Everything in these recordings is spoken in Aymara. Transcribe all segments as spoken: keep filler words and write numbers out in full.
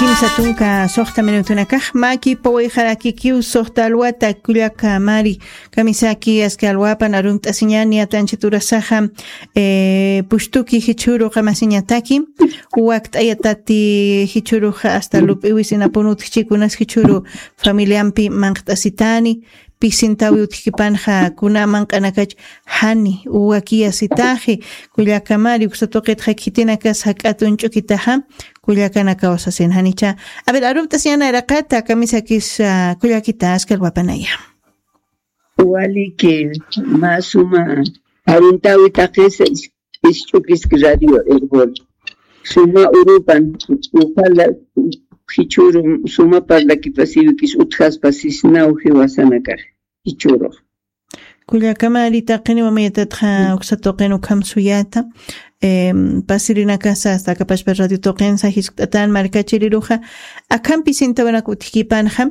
Kimsa tunka suxta minutunakax maki pawayxarakikiw suxta alwata kullaka mari. Kamisaki aski alwapan arumt'asiñani atanchiturasaxa, eh, pushtuki jichhuru qamasiñataki wakt'ayatati jichhuruxa asta lup'iwisinapun utjchikunas jichhuru familiampi manqt'asitani. Pisintawi utjkipanxa kuna manq'anakach jani uwakiyasitaxi. Kullakamari uksatuqitxa khitinakas jak'at uñch'ukitaxa kullakanakaw sasin janicha. A ver, arumt'asiñana iraqata kamisakis, ah, kullakita askalwapanaya. Waliki masuma aruntawi taqisa isch'ukiski radio erbol suma urupan ujala jichuru suma parlakipasiwikis utjaspasisnaw jiwasanakax jichurux. Kullakamari taqiniwa mayatatxa uksatuqin ukham suyata. Pasirinakasa asta akapashpa radio tuqinsa jiskt'atan markachiriruxa akhampi sintawinak utjkipanxa.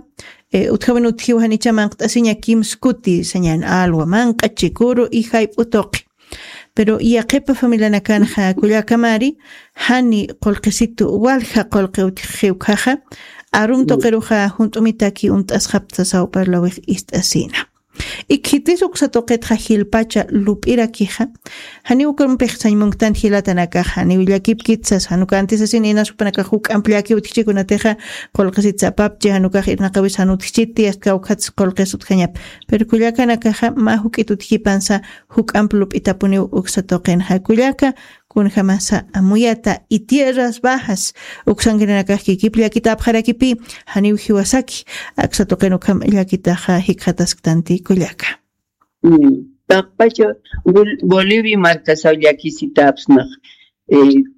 Utjawin utjiw janicha manqt'asiña kimskuti sañan alwa manq'a chikuru y jayp'u tuqi. Pero yaqipa familianakanxa kullakamari jani qulqisitu walja qulqi utjixiwkhaxa. Arum tuqiruxa junt'umitaki unt'asxapta sawparlawix ist'asina. Ikhitis uksatuqitxa jilpacha lup'irakixa janiw ukampix sañmunktan jilatanakaxa janiw llakipkitsas janukantisasin inasupanakax juk'amp llaki utjichikunatixa qulqisitsapapchi janukax irnaqawis janutjichiti astkawkhatsi qulqis utjañap. Pero kullakanakaxa mä juk'it utjipansa juk'amp lup'itapuniw uksatuqinxa kullaka kunjamasa amuyata y tierras bajas uksankirinakax kikip llakitapxarakipi janiw jiwasaki. Aksatuqin ukham llakitaxa jikxatasktanti kullaka. Taqpacha bolivia markasaw llakisitapsnax.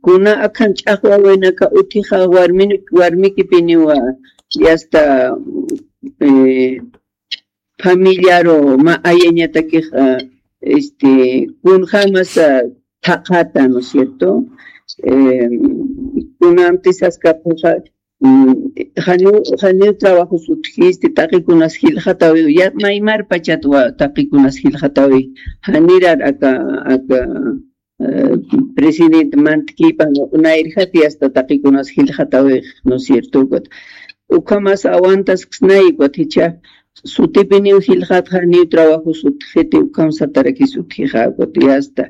Kuna akhan ch'aqwawinaka utjixa warmikipiniwa yasta familiaru mä ayañatakixa este kunjamasa thaqhata no cierto. Kunantisaskapxuxa janiw janiw trabajos utjisti taqikunas jilxatawiw maymar pachatwa taqikunas jilxatawi janirar aka aka presidente mantkipan nayrjati asta taqikunas jilxatawix no cierto ukat. Ukhamas awantasksnaykwat jicha sutipiniw jilxatxa niw trabajos utjiti ukham satarakis utjixa ukat yasta.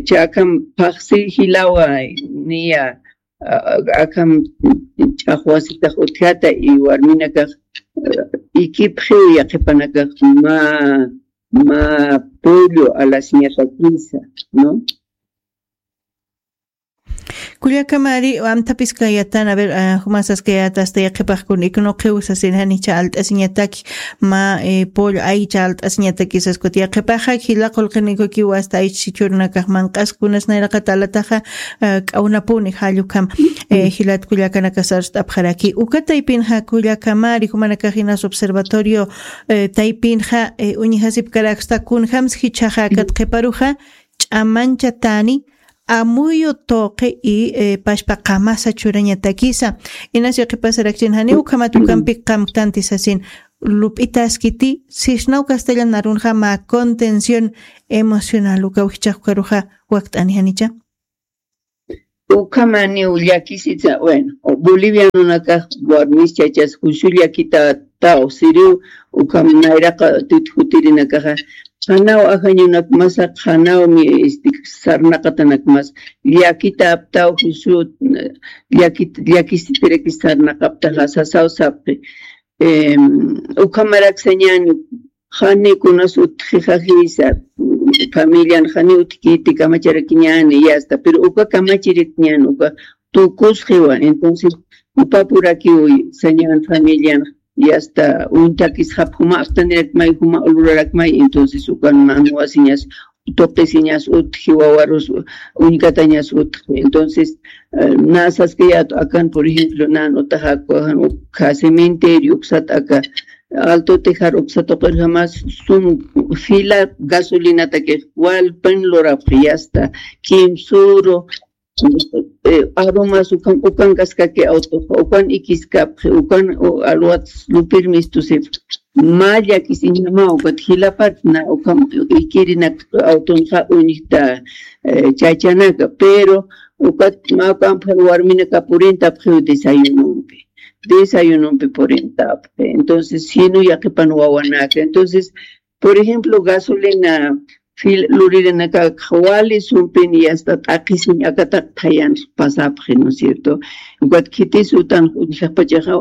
Chakham phaxsi jilawa niya akham ch'aqwasitax utjata y warminakax ikipxiw yaqipanakax ma ma pollo alasiñatakisa. No. Kullakamari amtapiskayatan a ver jumasaskayata asta yaqhipaxkun iknuqiw sasin janicha alt'asiñataki ma pollo aycha alt'asiñatakisas kuti yaqhipaxa jila qulqinikukiw asta aycha sichurunakax manq'askunas nayraqata alataxa k'awnapuni jallukam. Jilat kullakanakasarst'apxaraki uka taypinxa kullakamari jumanakax inas observatorio taypinxa uñjasipkaraksta kunjams jichhaxa akat qhiparuxa ch'amanchatani amuyu tuqi y pashpa qamasa churañatakisa. Inas yaqhipasarakchin jani ukhamat ukampi qamktanti sasin lup'itaskiti sisnaw castellan narunxa mä contención emocional ukaw jichhaxkaruxa wakt'ani janicha. Ukhamaniw llakisitsa bueno bolivianonakax warmis chachas juicio llakitataw siriw ukham nayraqa tut jutirinakaxa qhanaw ajañunakmasa qhanawmi sarnaqatanakmas llakitaptaw juicio llakisitirakis sarnaqaptaxa sasaw sapxi. Ukhamaraksañani jani kunas utjixajisa familian jani utjkiti kamacharakiñani yasta pero uka kamachiritñan uka tukusxiwan entonces upapurakiw sañan familian yasta uñtakisxap juma aptanirakmay juma ulurarakmay entonces ukan manuwasiñas tuqisiñas utji wawarus uñkatañas utji entonces nasaskayat akan por ejemplo nan utaxakuajan ukha cementerio uksat aka alto tejar uksa tuqirjamas sum fila gasolinatakix walpin lurapxi yasta kimsuru arumas ukan ukan kaskaki awtuxa ukan ikiskapxi ukan alwats lupirmistusipxi. Mä llakisiñama ukat jilapatna ukham ikirinak awtunxa uñjta chachanaka pero Ukat mä ukampxir warminaka purintapxiw desayunumpi. Desayunumpi purintapxi. Entonces, sino yaqhipan wawanaka. Entonces, por ejemplo, gasolina fil luririnaka wali sumpin y hasta t'aqhisiñ akataq thayan pasapxi, ¿no es cierto? Ukat khitis utan uñjaqpachaxa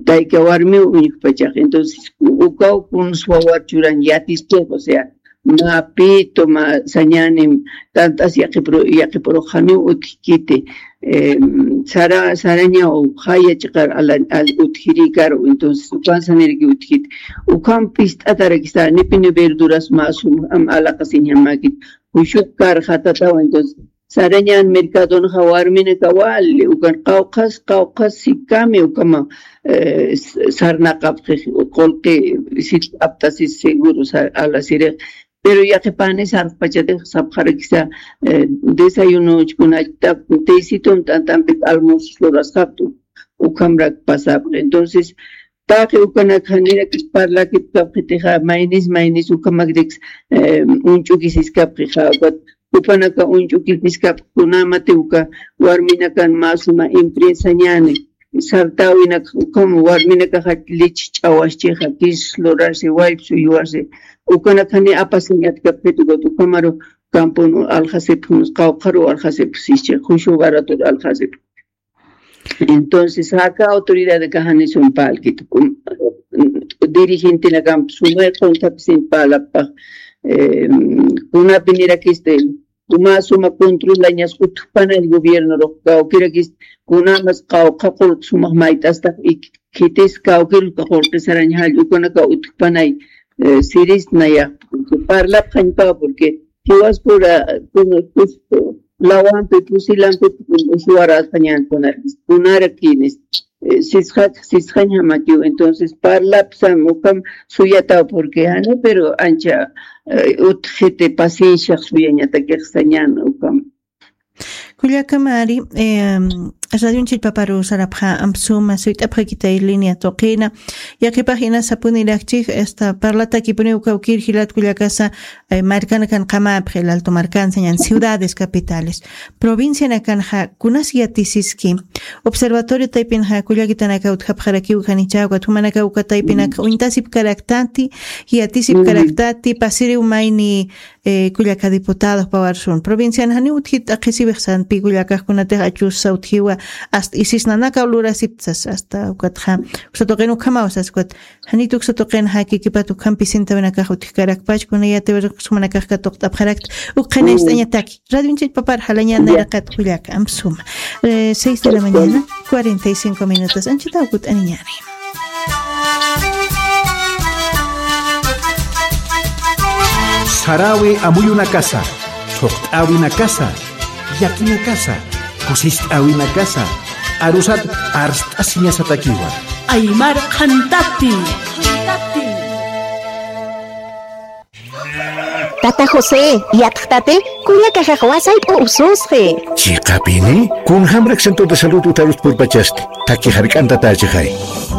tayka warmiw uñjaqpachaxa. Entonces, ukaw kuns wawar churan yatiskix, o sea, mä pito, mä sañänim, tant'as yaqhipuru-, yaqhipuruxaniw utjkiti, em, sara, sarañaw jaya chiqar ala, al utjirïkaru, entonces, ukan saniraki utjkiti. Ukham pist'atarakisa, nipini verduras mä sum, am alaqasiñamäkit, jusuq karxatataw, entonces, sarañan mercadonxa warminaka wali, ukan qawqhas, qawqhas sikami, ukama, eh, s-, sarnaqapxi, qullqi, sit aptasis seguro, sa-, alasirix. Pero yaqhipani sarxpachatix sapxarakisa, eh, desayunochkunachta, tecitun t'antampit almuerzos lurasxaptu, ukhamrak pasapxi. Entonces, taqi ukanak janirakis parlakipkapxitixa, maynis, maynis ukhamakrix, eh, uñch'ukisiskapxixa, ukat jupanaka uñch'ukisiskapxi, kunamati uka warminakan mä suma empresañäni, sartäwinak ukham warminakaxa lich ch'awaschixa, kis lurarsi, wallpis uywasi, ukanak jani apasiñatkapxiti, ukat ukhamaru kampun aljasipxi, qawqharu aljasipxi, jushu baratur aljasipxi. Entonces, jaka autoridad kaxani sumpalkit, kum-, dirigentenakamp sumay qunthapsin parlappax, em, kunapinirakisti, uma suma controlañas utjpanay gobiernorux, kawkirakist, kunamas qawqha qullq sumax mayt'astax, y khitis kawkir qullqi sarañ jall ukanaka utjpanay, eh, sirisnayax, parlapxañpa, porque jiwaspura, kun-, kus-, lawampi, pusilampi, suwarasqañan kunar-, kunarakinis, eh, sisqak-, sisqañamakiw. Entonces, parlapsam, ukham suyataw, porque, jani, pero ancha, eh, utjiti pacienciax suyañatakix sañan, ukham. Kullaka Mari, em, radionchik paparu sarapxa, amp suma, suyt'apxakitay línea tuqina, yaqhipax ina sapunirakchik, esta, parlatakipuniw kawkir jilat kullakasa, eh, markanakan qamapxi, el Alto markansa, ñan ciudades capitales. Provincianakanxa, kunas yatisiski. Observatorio taypinxa, kullakitanaka utjapxarakiw janichäwa, ukat jumanaka uka taypinaka, uñtasipkaraktati, yatisipkaraktati, pasiriw mayni, eh, kullaka diputados pawarsun. Provincian janiw utjit t'aqhisiwix sanpi kullakax kunatix achusa utjiwa, hasta isis nanakaw lurasiptsas, hasta ukatxa, uksa tuqin ukhamaw sas ukat. Janit uksa tuqin jaki kipat ukhampi sintawinakax utjkarakpach, kuna yatiwirqis jumanakax katuqt'apxarakta, ukxina ist'añataki. Radionchik papar jalañan nayraqat kullaka, amp suma. Eh, seis de la mañana, cuarenta y cinco minutos. Anchita ukut aniñani. Sarawi amuyunakasa, thuqt'awinakasa, yakinakasa, kusist'awinakasa, arusat arst'asiñasatakiwa. Aymar qhantati. Tata José, yatxtati, kullakaxax wasayp'u ususxi. Chiqapini, kunjamrak centro de salud utjarus purpachasti, thakhi jark'antatächixay.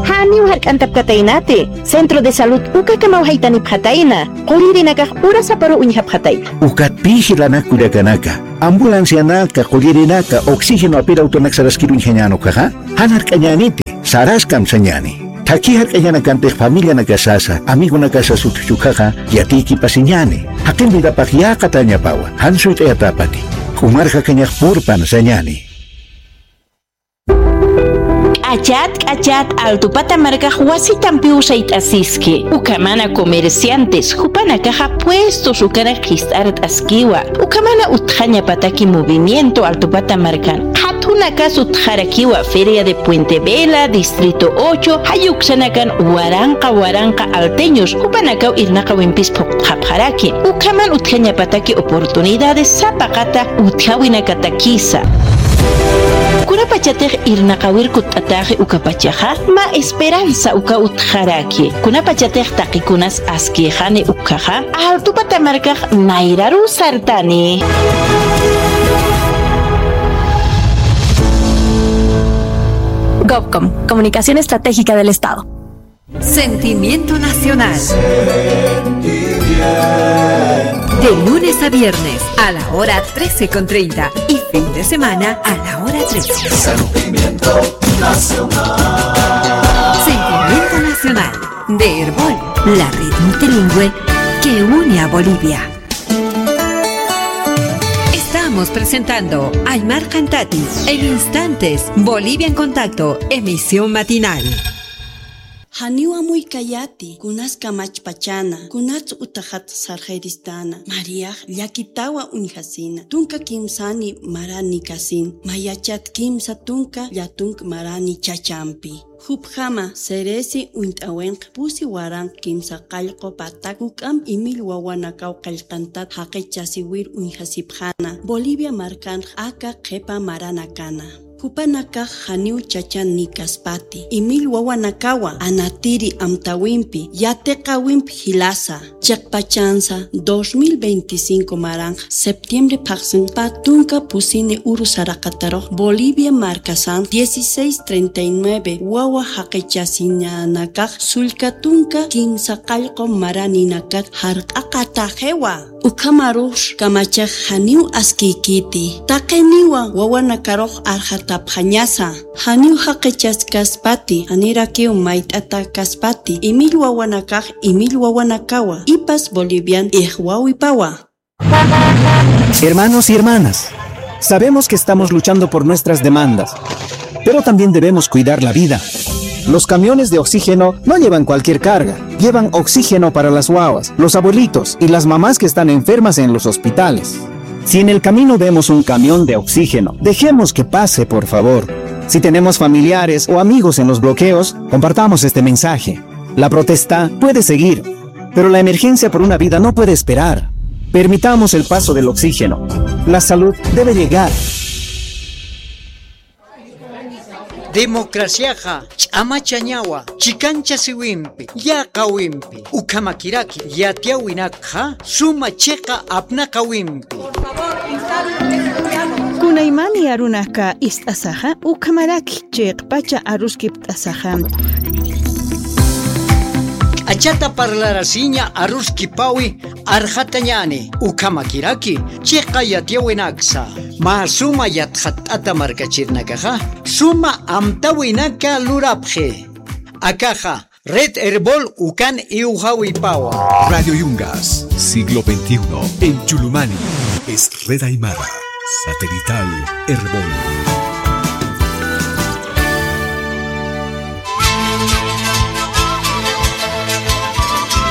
Janiw jark'antapkataynati, centro de salud ukakamaw jaytanipxatayna, qullirinakax urasaparu uñjapxatayna. Ukat pï jilanak kullakanaka, ambulancianaka, qullirinaka, oxígeno apir autonak saraskir uñjañän ukkhaxa, jan jark'añäniti, saraskam sañäni. Thakhi jark'añanakantix familianakasasa, amigonakasas utjchukxaxa, yatiykipasiñäni. Jaqin vidapax yäqatäñapawa, jan suyt'ayatäpati. K'umar jakañax purpan sañäni. K'achat, k'achat, Altupata markax wasitampiw sayt'asiski. Ukhamana comerciantes, jupanakaxa puestos ukanak jist'art'askiwa. Ukhamana utjañapataki movimiento Altupata markan. Qhathunakas utjarakiwa Feria de Puente Vela, Distrito ocho, jayuksanakan waranqa waranqa alteños, jupanakaw irnaqawimpis phuqt'xapxaraki. Ukhaman utjañapataki oportunidades sapaqata utjawinakatakisa. Kunapachatix irnaqawir kutt'atäxi ukapachaxa, mä esperanza uka utjaraki. Kunapachatix taqikunas askïxani ukkhaxa, Altupata markax nayraru sartani. Gobcom, Comunicación Estratégica del Estado. Sentimiento Nacional. De lunes a viernes a la hora trece con treinta y fin de semana a la hora trece. Sentimiento Nacional. Sentimiento Nacional de Erbol, la red multilingüe que une a Bolivia. Estamos presentando Aymar Cantati en instantes, Bolivia en Contacto, emisión matinal. Janiw amuykayati, kunas kamachpachana, kunats utaxat sarxayristana, Mariax llakitawa uñjasina, tunka kimsani marani kasin, mayachat kimsa tunka llatunk marani chachampi. Jupjama Ceresi uñt'awinq pusi waranq kimsa qallqu patak juk'amp imil wawanakaw qillqantat jaqichasiwir uñjasipxana, Bolivia markanx aka qhipa maranakana. Jupanakax janiw chachan nikaspati, imil wawanakawa anatiri amtawimpi, yatiqawimp jilasa, chiqpachansa dos mil veinticinco maranx septiembre phaxsinpa tunka pusini uru saraqatarux Bolivia markasan dieciséis treinta y nueve wawa jaqichasinanakax sullka tunka kimsa qallqu maraninakat jarq'aqataxiwa. Ukhamarux kamachax janiw askiykiti. Taqiniwa wawanakarux arxatapxañasa. Janiw jaqichaskaspati, janirakiw mayt'atakaspati, imil wawanakax, imil wawanakawa, ipas Bolivian ixwawipawa. Hermanos y hermanas, sabemos que estamos luchando por nuestras demandas, pero también debemos cuidar la vida. Los camiones de oxígeno no llevan cualquier carga, llevan oxígeno para las guaguas, los abuelitos y las mamás que están enfermas en los hospitales. Si en el camino vemos un camión de oxígeno, dejemos que pase, por favor. Si tenemos familiares o amigos en los bloqueos, compartamos este mensaje. La protesta puede seguir, pero la emergencia por una vida no puede esperar. Permitamos el paso del oxígeno. La salud debe llegar. Democraciaxa ch'amachañawa, chikanchasiwimpi, yäqawimpi, ukhamakiraki yatiyäwinakxa suma chiqa apnaqawimpi. Kunaymani arunaka ist'asaxa, ukhamaraki chiqpacha aruskipt'asaxa. K'achata parlarasiña aruskipawi arxatañäni, ukhamakiraki chiqa yatiyäwinaksa. Mä suma yatxatt'ata markachirinakaxa suma amtawinaka lurapxi. Akaxa Red Erbol ukan iwxawipawa. Radio Yungas, siglo veintiuno, en Chulumani. Es Red Aymara, satelital Erbol.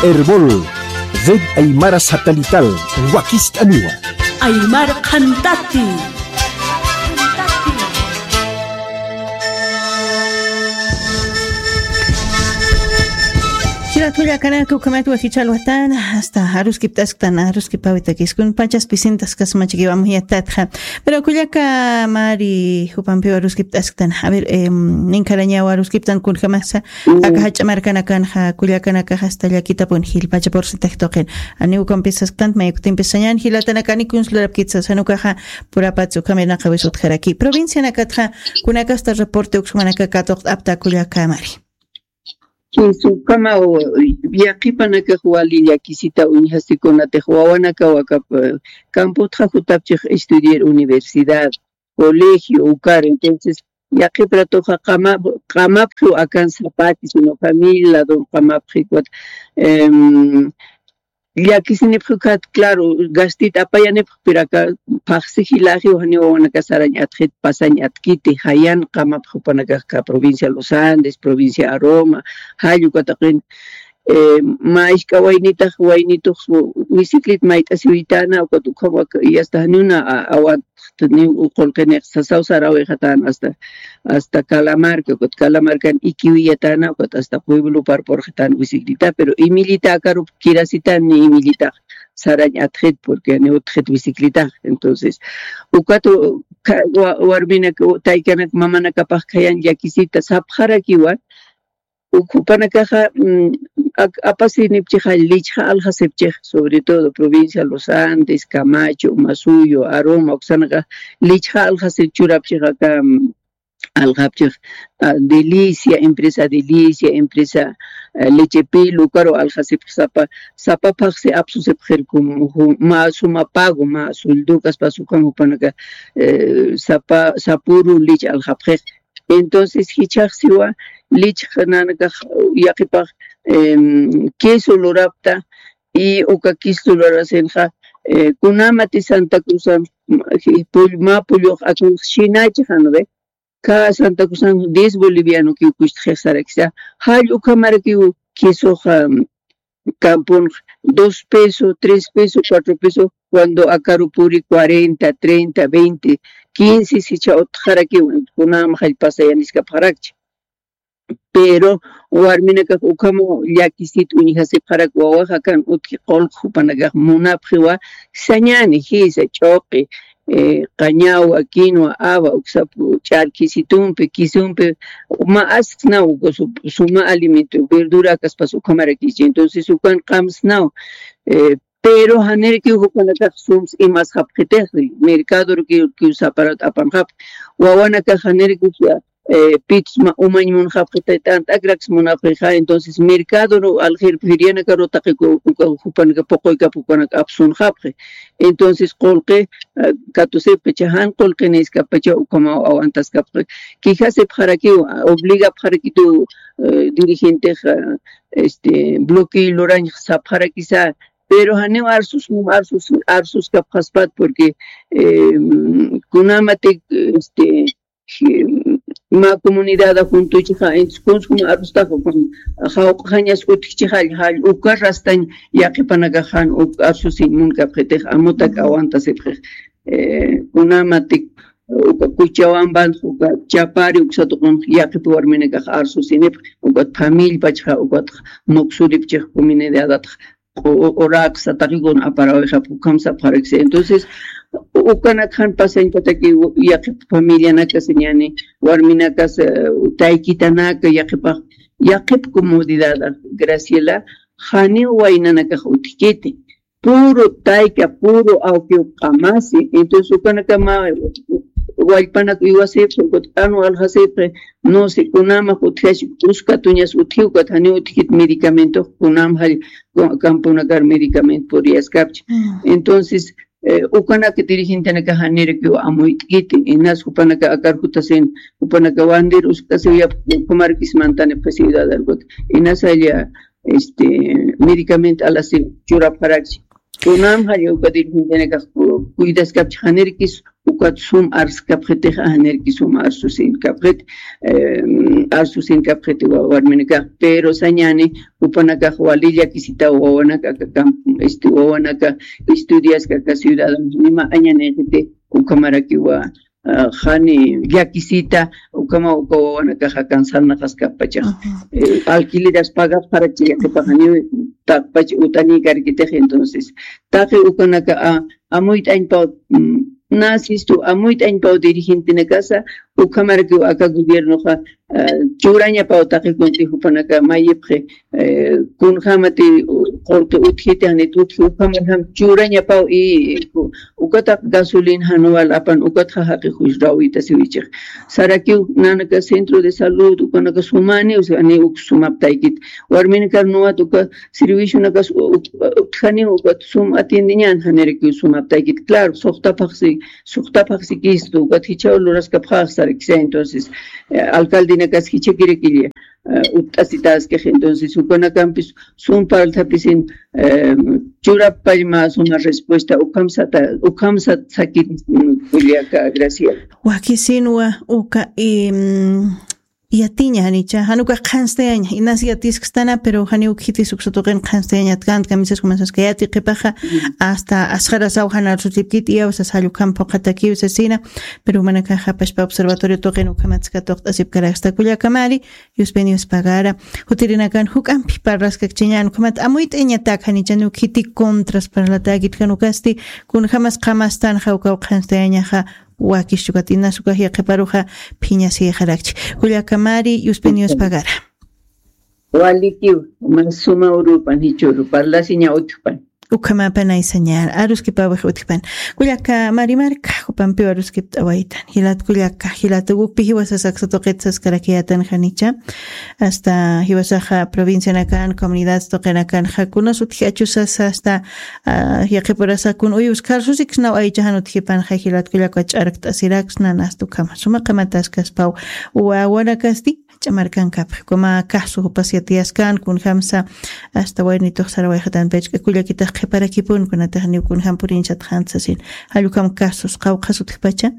Erbol, Red Aymara Satelital, wakist'aniwa. Aymar Qhantati. Jilat kullakanaka, ukhamat wasichal watan, hasta aruskiptasktan, aruskipawitakis, kun pachas pisintas kasmachikiwa amuyattatxa. Pero kullaka Mari jupampiwa aruskiptasktan. A ver, em, ninkharañawa aruskiptan kunjamasa, aka jach'a markanakanxa, kullakanakaxa hasta llakitapun jilpacha porcentaje tuqin. Ani ukampis sasktant, mayuktimpis sañan, jilatanakani kuns lurapkitsa, sanukaxa purapats ukhamirnaqawis utjaraki. Provincianakatxa, kunakasta reporte uksumanaka katuqt'apta kullaka Mari. Ukhama, yaqhipanakax wali llakisita uñjasikunatix wawanakaw aka, eh, campotxa jutapchix estudiar universidad, colegio, ukar, entonces, yaqhip ratuxa qama-, qamapxiw akan sapati, sino familia ladon qamapxi, ukat, em, llakisinipxi ukat, claro, gastit apayanipxi, pero aka phaxsi jilaxiw janiw wawanaka sarañ atxit, pasañ atkiti, jayan qamapxi jupanakax aka provincia Los Andes, provincia Aroma, jall uka taqin, eh, mä isk'a waynitax, waynitux bicicleta mayt'asiwitana, ukat ukham wak-, y hasta janiw na a-, awantxtaniw uqulqinix sasaw sarawixatana hasta, hasta Calamarca, ukat Calamarcan ikiwiyatana, ukat hasta pueblopar purxitana bicicleta, pero imillita akarup kirasitan ni imillitax sarañ atxit, porque janiw utxit bicicletax. Entonces, ukat u-, ka-, wa-, warminak, u-, taykanak, mamanakapax khayan llakisita sapxarakiwa, ukhupanakaxa, mm, ak-, apasinipchixa, lichxa alxasipchix, sobre todo provincia Los Andes, Camacho, Masuyo, Aroma, uksanakax lichxa alxasir churapchix aka, mm, alxapchix, ah, Delicia, empresa Delicia, empresa, eh, leche pil, ukaru aljasipxi sapa, sapa phaxsi apsusipxirkum, ju-, mä suma pago, mä sueldo kaspas ukham jupanaka, eh, sapa, sapüru leche aljapxix. Entonces, jichhaxsiwa, leche nanakax, yaqipax, em, queso lurapta, y uka queso lurasinxa, eh, kunamati Santa Cruzan, ma-, pull-, mä pullux akan shinachixan, ¿ve? Ka Santa Cruzan diez boliviano kiw kuchtxix sarakisa. Jall ukhamarakiw quesoxa, mm, campun dos peso, tres peso, cuatro peso, cuando akaru puri cuarenta, treinta, veinte, quince, sicha utjarakiw, kunam jall pasayaniskapxarakchi. Pero warminakax ukhama llakisit uñjasipxarak wawaxa kan utji qulq jupanakax munapxiwa sañani, jisa, ch'uqi, eh, qañawa, quinoa, awa, uksapu ch'arkisitumpi, kisumpi, ma asksnaw uka su-, suma alimento, verdura kaspas ukhamarakichi. Entonces, ukan qamsnaw, eh, pero janirakiw jupanakax sums imas japxitix, mercador kiw, kiw saparat apan jap. Wawanakax janirakiw eh, pits ma umañ munxapxi, t'ant'akraks munapxixa, entonces mercado ru aljir ferianakaru taqiku uka jupanaka puquykap jupanaka apsunxapxi. Entonces qulqi, eh, katusipxi, chajan qulqi niskapacha ukhamaw awantaskapxi. Quejasipxarakiw, obligapxarakitu, eh, dirigentexa, este, bloqueo lurañ sapxarakisa, pero janiw arsus, arsus, arsuskapxaspat, porque, eh, kunamatik, este, si, mä comunidad juntuchixa, entonces, kunskum arustaxa, jawq'añas utjchixa, jall uka rastañ yaqipanakaxan uk arsusin munkapxitix, amutak awantasipxix, eh, kunamatik, uka Cochabamban, uka Chapari, uksatuqun yaqip warminakax arsusinipx, ukat familiapachxa, ukat muksuripchix comunidadatx, o, o, oraksa, taqikun aparawixap, ukham sapxaraksa. Entonces, ukanakxan pasañpataki yaqip familianakasa ñani, warminakas, eh, taykitanaka, yaqipax, yaqip comodidad, Graciela, janiw waynanakax utjkiti. Puro tayka, puro awkiw qamasi. Entonces, ukanakama wallpanak iwasipxi, ukat q'anu aljasipxi, no sé, kunamax utjash, uskatuñas utji, ukat janiw utjkit medicamento, kunam jall, campunakar medicamento puriyaskapchi. Entonces, eh, ukanaka dirigentenaka janirakiw amuyt'kiti, inas jupanaka akar jutasin, jupanaka bandir uskasiw yap, kumarkis mantani pues ciudad algot, inas jalla, este, medicamento alasi churapxarakchi. Kunam jalla uka dirigentenakax cu-, cuidaskapchi, janirkis ukat sum arskapxitix, janirkis sum arsusinkapxit, eh, arsusinkapxit wa-, warminakax, pero sañani, jupanakax wali llakisita wawanaka, aka camp-, este, wawanaka estudiaska aka ciudad, nima añanixiti, ukhamarakiwa, ah, jani llakisita, ukhama uka wawanakaxa cansar naqaskapachax. Eh, alquileras pagapxarakchi, yaqipaxaniw taqpach utani karkitix, entonces, taqi ukanaka, ah, amuyt'añpaw, mm, nasistu, amuyt'añpaw dirigentenakasa, ukhamarakiw aka gobiernoxa, ah, churañapaw taqi kunti jupanaka mayipxi, eh, kunjamati, u-, qulqi utjiti, janit utji, ukhamarjam churañapaw, y, u-, ukataq gasolina januwal apan, ukatxa jaqi juysrawitasiwichix. Sarakiw nanaka centro de salud, ukanaka sumani, o sea, ni uk sumaptaykit. Warminakar nuwat uka servicionakas u-, u-, utjani, ukat sum atiendeñan, janirakiw sumaptaykit. Claro, suxtapxsi, suxtapxsi kistu, ukat jichhaw luraskapxax sarakisa, entonces, eh, alcaldenakas jichhakirakilla, eh, utt'asitaskix, entonces, ukanakampis sum parlthapisin, eh, churapallma suma respuesta, ukhamsata, ukhamsat sakit, mm, kullaka, Graciela. Wakisinwa uka, em, yatiña, janicha, jan ukax qhanstayaña, inas yatiskstana, pero janiw khitis uksa tuqin qhanstayañat kant, kamisas kumasaska yati qhipaxa, hasta asxarasaw jan arsusipkit, iyawsas jall ukham phuqhatakiw sasina, pero jumanakaxa pachpa observatorio tuqin ukhamatska tuqt'asipkaraksta kullakamari, Yuspin yuspagara, jutirinakan juk'ampi parlaskakchiñan, ukhamat amuyt'añatak, janicha ni ukhiti contras parlatäkit, jan ukasti, kunjamas qhamastan, jawkaw qhanstayañaxa, wakis chukat inas ukax yaqhiparuxa phiñasixarakchi. Kullakamari, Yuspin yuspagara. Walikiw, mas suma urupan, jichhüru, parlasiña utjpan. Ukhamapan aysañar aruskipawix utjpan. Kullaka Marimarka jupampiw aruskipt'awaytan. Jilat kullaka, jilat ukpi jiwasas aksa tuqit saskarakiyatan janicha. Hasta jiwasaxa provincianakan, comunidad tuqinakan, jakunas utji achusas hasta, ah, yaqipurasakun uyus karsusiksnaw aychajan utjipan, ja jilat kullaka ch'arkt'asiraksna, nasta ukhama. Suma qamataskaspaw wawanakasti, ch'amarkankapxi, kuma caso jupas yatiyaskan, kunjamsa hasta waynitux sarawayxatan pachk'a kullakitax qhiparakipun, kunatax niw kunjam purinchataxanta sasin. Jallukam casos, qawqhas utjpacha,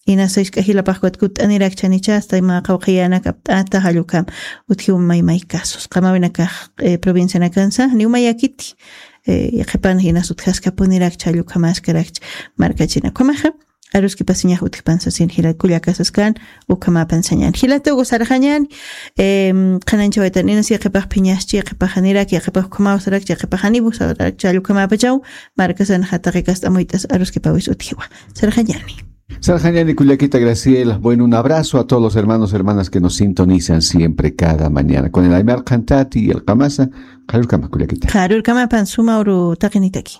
inasa isk'a jilapaxkut kutt'anirakchanicha, hasta ima qawqhiyänak apt'ata, jallukam utjiw maymay casos. Qamawinakax, eh, provincianakansa, niw mayakiti, eh, qhipan inas utjaskapunirakcha, jallukamaskarakcha markachina. Kumaxa, aruskipasiñax utjpan sasin jilat kullakasaskan, ukhamapan sañan. Jilatugu sarxañan, em, qhananchawaytan inas yaqhipax phiñaschi, yaqhipaxanirak, yaqhipax ukhamaw sarakchi, yaqhipaxanibu sarakchi, jallukamapachaw, markasan jataqi kast'amuyt'as aruskipawis utjiwa. Sarxañani. Sarxañani kullakita Graciela. Bueno, un abrazo a todos los hermanos, hermanas que nos sintonizan siempre cada mañana. Con el Aymar Qhantati y el Qamasa, qharürkama kullakita. Qharürkamapan suma uru taqinitaki.